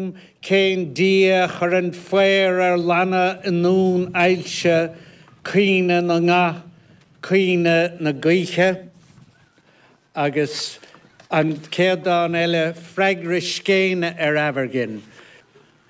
dom cén Dia a chuireann faobhar ar lanna i nDún Ailse, caoineadh na nga, caoineadh na gaoithe? Agus an chéad dán eile, Freagra Scéine ar Aimhirghin.